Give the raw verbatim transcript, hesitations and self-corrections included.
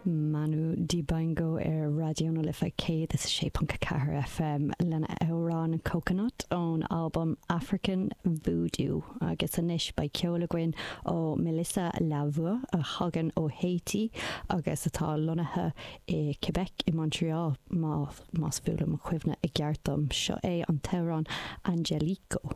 Manu Dibango ar Raidió na Life céad is a sé ponc a ceathair FM lena amhrán Coconut ón albam African Voodoo agus anois beidh ceol againn ó Melissa Lavoie a thagann ó Haiti agus atá lonnaithe i Quebec i Montreal má más bhuaile mo chuimhne i gceart dom seo é an t-amhrán Angelico.